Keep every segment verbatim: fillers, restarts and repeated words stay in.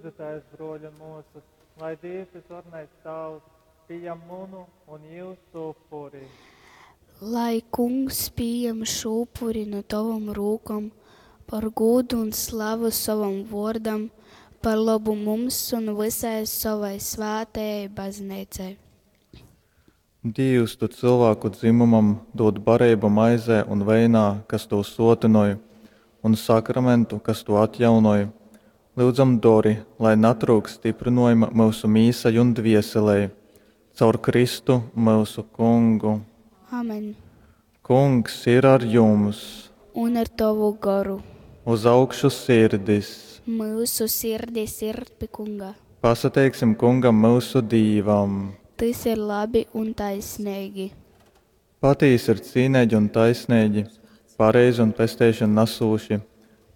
Lyudzitēs, brōļi un mōsas, lai Dīvs Vysvarenais Tāvs pījam munu un jyusu upuri. Lai Kungs pījam šū upuri nu tovom rūkom par gūdu un slavu sovam vōrdam, par lobu mums un vysai sovai svātajai Bazneicai. Dīvs, tu cylvāku dzymumam dūd bareibu maizē un veinā, kas tū sōtynoj, un sakramentu, kas tū atjaunoj, lyudzam, dori, lai natryukst styprynōjuma myusu mīsai un dvieselei. Caur Kristu, myusu Kungu. Amen. Kungs ir ar jums! Un ar tovu goru. Uz augšu sirdis! Myusu sirdis ir pi Kunga. Pasateiksim Kungam, myusu Dīvam! Tys ir labi un taisneigi. Patīsi ir cīneigi un taisneigi, pareizi un pesteišonu nasūši,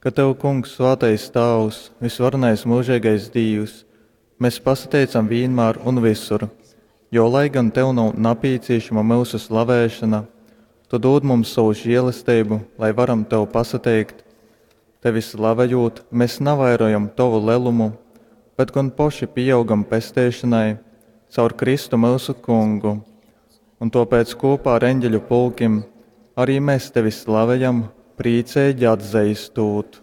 ka tev, Kungs, svātais Tāvs, vysvarenais myužeigais Dīvs, mes pasateicam vīnmār un vysur, jo, lai gan tev nav napīcīšama myusu slavēšana, tu dūd mums sovu žēlesteibu, lai varam tev pasateikt. Tevi slavejūt, mēs navairojam tovu lelumu, bet gon poši pīaugam pesteišonai caur Kristu myusu Kungu. Un tōpēc kopā ar eņģeļu pulkim arī mēs tevi slavejam, prīceigi atzeistūt.